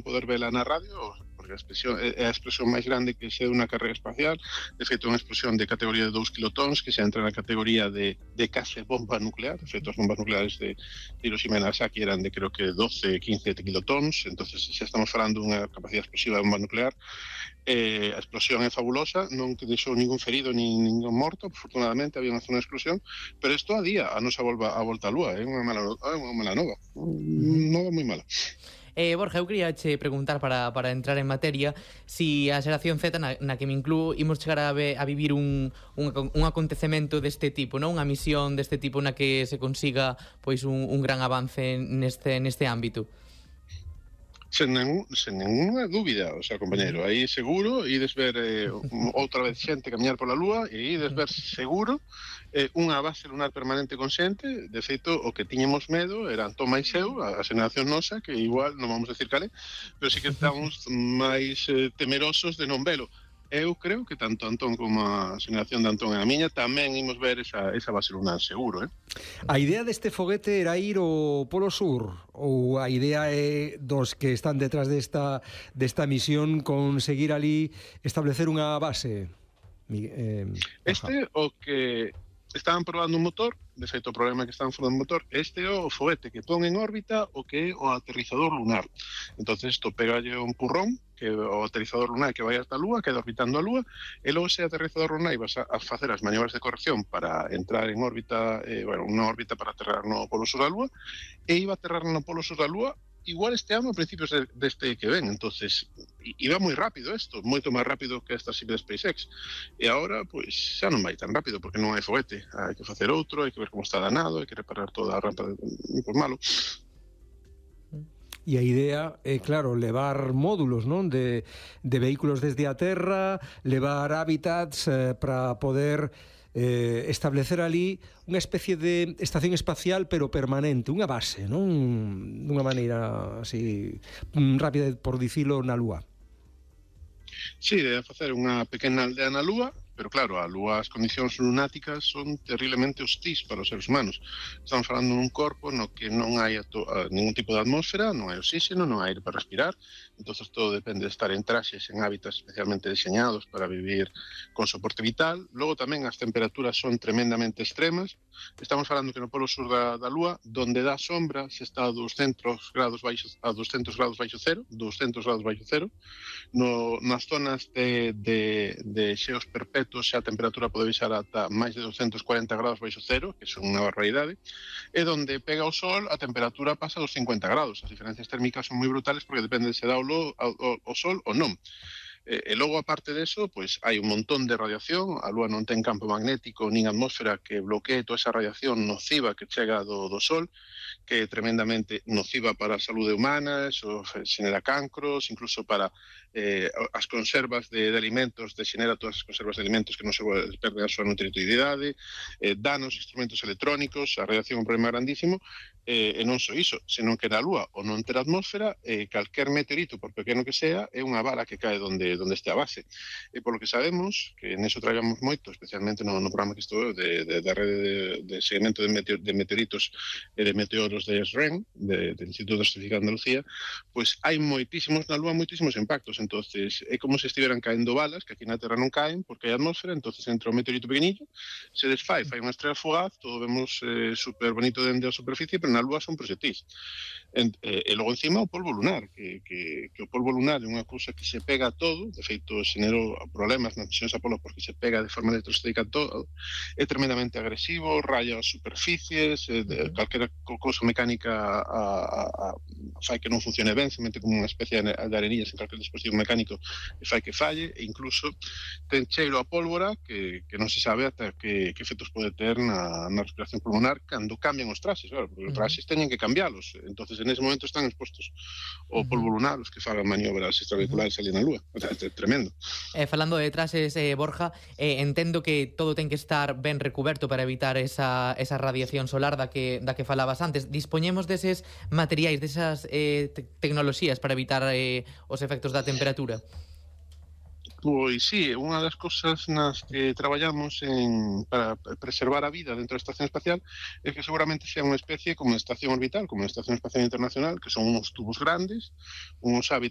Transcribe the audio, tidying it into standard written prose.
poder vela na radio, porque é a explosión máis grande que se deu na carreira espacial. De feito, é unha explosión de categoría de 2 kilotons, que se entra na categoría de case bomba nuclear. De feito, as bombas nucleares de Hiroshima e Nagasaki eran de, creo que, 12, 15 kilotons. Entonces, xa estamos falando dunha capacidade explosiva de bomba nuclear. A explosión é fabulosa, non que deixou ningún ferido nin ningún morto, afortunadamente había unha zona de explosión, pero isto a día a nosa volta á Lúa é unha mala nova, nova moi mala. Borja, eu quería che preguntar para entrar en materia si a xeración Z, na que me incluo, imos chegar a vivir un acontecemento deste tipo, non? Unha misión deste tipo na que se consiga pois un gran avance neste ámbito. Sen ninguna dúbida, o sea, compañeiro, aí seguro ides ver outra vez xente camiñar pola Lúa e ides ver seguro unha base lunar permanente con xente. De feito, o que tiñamos medo era Antón máis eu, a xeración nosa, que igual non vamos decir cale, pero sí que estamos máis temerosos de non velo. Eu creo que tanto Antón como a xeración de Antón e a miña tamén imos ver esa base lunar, seguro, A idea deste foguete era ir ao Polo Sur, ou a idea é dos que están detrás desta misión conseguir ali establecer unha base? O que estaban probando un motor, de feito o problema é que estaban probando un motor, este é o foguete que pon en órbita o que é o aterrizador lunar. Entonces isto pegalle un purrón, que o aterrizador lunar que vai hasta a Lúa, queda orbitando a Lúa, e logo ese aterrizador lunar vas a facer as maniobras de corrección para entrar en órbita, unha órbita para aterrar no Polo Sur da Lúa, e iba a aterrar no Polo Sur da Lúa igual este ano a principios deste que ven. Entonces iba moi rápido isto, moito máis rápido que esta de SpaceX, e agora pois xa non vai tan rápido porque non hai foguete, hai que facer outro, hai que ver como está danado, hai que reparar toda a rampa de malo. E a idea é, claro, levar módulos, non, de vehículos desde a Terra, levar hábitats para poder establecer ali unha especie de estación espacial pero permanente, unha base, non? Dunha maneira así rápida, por dicilo, na Lúa. Sí, debe facer unha pequena aldea na Lúa, pero claro, a Lúa, as condicións lunáticas son terriblemente hostís para os seres humanos. Estamos falando dun corpo no que non hai ningún tipo de atmósfera, non hai oxígeno, non hai aire para respirar. Entonces todo depende de estar en traxes, en hábitats especialmente diseñados para vivir con soporte vital. Logo tamén as temperaturas son tremendamente extremas. Estamos falando que no Polo Sur da Lúa, donde dá sombra, se está a 200 grados baixo cero, nas zonas de xeos perpetuos xa a temperatura pode baixar ata máis de 240 grados baixo cero, que son unha barbaridade, e donde pega o sol a temperatura pasa dos 50 grados. As diferencias térmicas son moi brutales porque depende de se dá o sol ou non. E logo, aparte deso, pois hai un montón de radiación. A Lúa non ten campo magnético nin atmósfera que bloquee toda esa radiación nociva que chega do sol, que é tremendamente nociva para a saúde humana, eso xenera cancros, incluso para as conservas de alimentos, xenera todas as conservas de alimentos que non se perden a súa nutritividade, danos instrumentos electrónicos. A radiación é un problema grandísimo, e non só iso, senón que na Lúa, ou non ter atmósfera, calquer meteorito, por pequeno que sea, é unha bala que cae onde este a base. E polo que sabemos, que neso traballamos moito, especialmente no programa que estou da rede de seguimento de meteoritos e de meteoros de SREN, do Instituto de Astrofísica de Andalucía, pois hai moitísimos na Lúa, moitísimos impactos. Entonces é como se estiveran caendo balas, que aquí na Terra non caen porque hai atmósfera. Entonces entra un meteorito pequenillo, se desfai, fai unha estrela fugaz, todo vemos super bonito dende a superficie, pero na Lúa son proxectís. E logo encima o polvo lunar, que o polvo lunar é unha cousa que se pega a todo. De feito, xenerou problemas nas misións Apolo porque se pega de forma electrostática a todo, é tremendamente agresivo, raya as superficies, calquera cousa mecánica fai que non funcione ben, se mete como unha especie de arenillas en calquer dispositivo mecánico e fai que falle, e incluso ten cheiro a pólvora que non se sabe ata que efectos pode ter na respiración pulmonar cando cambian os traxes, claro, porque os traxes teñen que cambialos. Entonces en ese momento están expostos ao polvo lunar os que fagan maniobras extravehiculares ali na Lúa. O sea, é tremendo. Falando de traxes, Borja, entendo que todo ten que estar ben recuberto para evitar esa radiación solar da que falabas antes. Dispoñemos deses materiais, desas tecnoloxías para evitar os efectos da temperatura? Pois sí, unha das cousas nas que traballamos para preservar a vida dentro da Estación Espacial é que seguramente sea unha especie como a Estación Orbital, como a Estación Espacial Internacional, que son uns tubos grandes, uns hábitats